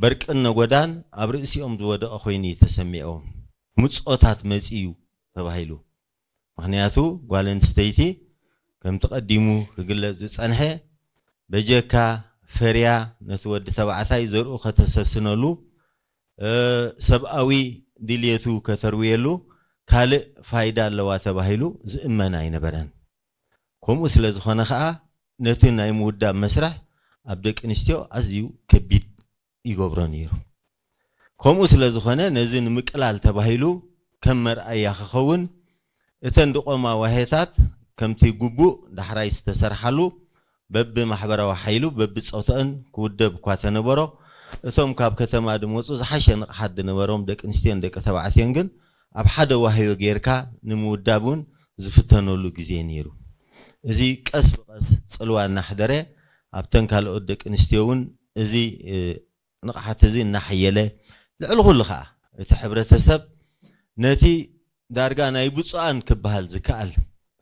በርቅን ነጎዳን ኣብ ርእሲኦም ዝወደቐ ኮይኑ እዩ ተሰሚዖም። ምጾታት መጺኡ ተባሂሉ። ምኽንያቱ ጓል ኣንስተይቲ ከምቲ ቀዲሙ ክግለጽ ዝጸንሐ በጀካ ፈርያ ነቲ ወዲ ተባዕታይ ዘርኡ ከተሰስነሉ፣ ሰብኣዊ ድልየቱ ከተርውየሉ ካልእ ፋይዳ ኣለዋ ተባሂሉ ዝእመን ኣይነበረን። ከምኡ ስለ ዝኾነ ኸኣ ነቲ ናይ ምውዳብ መስርሕ ኣብ ደቂ ኣንስትዮ ኣዝዩ ከቢድ ይገብሮ ነይሩ። ከምኡ ስለ ዝኾነ ነዚ ንምቅላል ተባሂሉ ከም መርኣያ ክኸውን እተን ድቆማ ዋሄታት ከምቲ ግቡእ ዳሕራይ ዝተሰርሓሉ በብማሕበራዊ ሓይሉ በብጾትአን ክውደብ እኳ ተነበሮ፣ እቶም ካብ ከተማ ድመጹ ዝሓሸ ንቕሓት ዝነበሮም ደቂ ኣንስትዮን ደቂ ተባዕትዮን ግን ኣብ ሓደ ዋህዮ ጌርካ ንምውዳብ እውን ዝፍተነሉ ግዜ ነይሩ። እዚ ቀስ ብቐስ ጽልዋ እናሕደረ ኣብተን ካልኦት ደቂ ኣንስትዮ እውን እዚ ንቕሓት እዚ እናሓየለ፣ ልዕሊ ኩሉ ኸኣ እቲ ሕብረተሰብ ነቲ ዳርጋ ናይ ብፁዓን ክበሃል ዝከኣል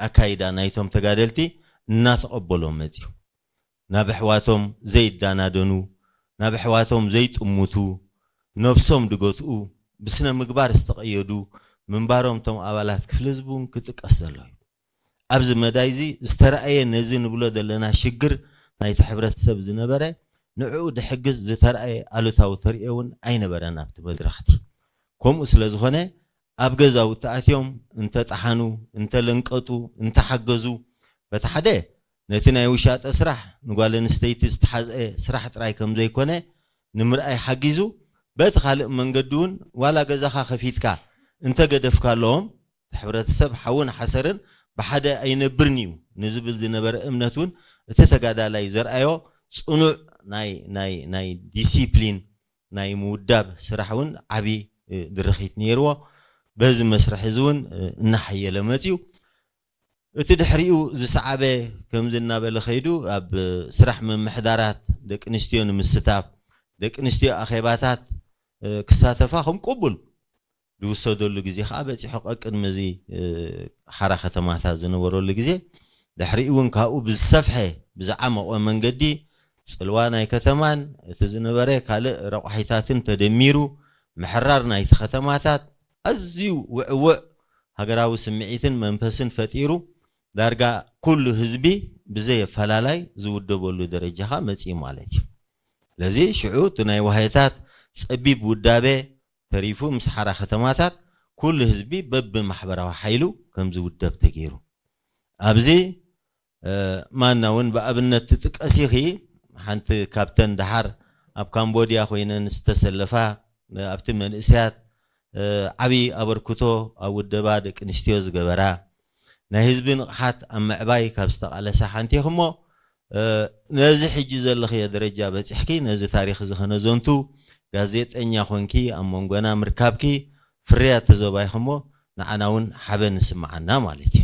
ኣካይዳ ናይቶም ተጋደልቲ እናተቐበሎ መፅዩ። ናብ ኣሕዋቶም ዘይዳናደኑ፣ ናብ ኣሕዋቶም ዘይጥምቱ፣ ነብሶም ድገትኡ፣ ብስነ ምግባር ዝተቐየዱ ምንባሮም እቶም ኣባላት ክፍሊ ህዝቢ እውን ክጥቀስ ዘሎ እዩ። ኣብዚ መዳይ እዚ ዝተረኣየ ነዚ ንብሎ ዘለና ሽግር ናይቲ ሕብረተሰብ ዝነበረ ንዕኡ ድሕግዝ ዝተረኣየ ኣሉታዊ ተርእዮ እውን ኣይነበረን ኣብቲ መድረኽቲ። ከምኡ ስለ ዝኾነ ኣብ ገዛውቲ ኣትዮም እንተጠሓኑ፣ እንተለንቀጡ፣ እንተሓገዙ በቲ ሓደ ነቲ ናይ ውሻጠ ስራሕ ንጓል ኣንስተይቲ ዝተሓዝአ ስራሕ ጥራይ ከም ዘይኮነ ንምርኣይ ሓጊዙ፣ በቲ ካልእ መንገዲ እውን ዋላ ገዛኻ ከፊትካ እንተገደፍካሎም እቲ ሕብረተሰብ ሓውን ሓሰርን ብሓደ ኣይነብርን እዩ ንዝብል ዝነበረ እምነት እውን እቲ ተጋዳላይ ዘርኣዮ ጽኑዕ ናይ ናይ ናይ ዲሲፕሊን ናይ ምውዳብ ስራሕ እውን ዓቢ ድርኺት ነይርዎ። በዚ መስርሕ እዚ እውን እናሓየለ መፅዩ። እቲ ድሕሪኡ ዝሰዓበ ከምዚ እናበለ ከይዱ ኣብ ስራሕ ምምሕዳራት ደቂ ኣንስትዮ ንምስታፍ ደቂ ኣንስትዮ ኣኼባታት ክሳተፋ ከም ቅቡል ዝውሰደሉ ግዜ ከዓ በፂሑ። ቀቅድሚ እዚ ሓራ ከተማታት ዝነበረሉ ግዜ ድሕሪኡ እውን ካብኡ ብዝሰፍሐ ብዝዓመቐ መንገዲ ፅልዋ ናይ ከተማን እቲ ዝነበረ ካልእ ረቋሒታትን ተደሚሩ ምሕራር ናይቲ ከተማታት ኣዝዩ ውዕውዕ ሃገራዊ ስምዒትን መንፈስን ፈጢሩ ዳርጋ ኩሉ ህዝቢ ብዘየፈላላይ ዝውደበሉ ደረጃ ከዓ መፅዩ ማለት እዩ። ስለዚ ሽዑ እቲ ናይ ዋህየታት ፀቢብ ውዳበ ተሪፉ ምስ ሓራ ከተማታት ኩሉ ህዝቢ በብማሕበራዊ ሓይሉ ከም ዝውደብ ተገይሩ። ኣብዚ ማና እውን ብኣብነት ትጥቀስ ኢኺ። ሓንቲ ካብተን ደሓር ኣብ ካምቦድያ ኮይነን ዝተሰለፋ ኣብቲ መንእሰያት ዓብዪ ኣበርክቶ ኣብ ውደባ ደቂ ኣንስትዮ ዝገበራ ናይ ህዝቢ ንቕሓት ኣብ ምዕባይ ካብ ዝተቓለሳ ሓንቲ ኢኺ እሞ ነዚ ሕጂ ዘለኽዮ ደረጃ በፂሕኪ ነዚ ታሪኽ እዚ ከነዘንቱ ጋዜጠኛ ኮንኪ ኣብ መንጎና ምርካብኪ ፍርያት ተዘባይኺ እሞ ንዓና እውን ሓበን ንስምዓና ማለት እዩ።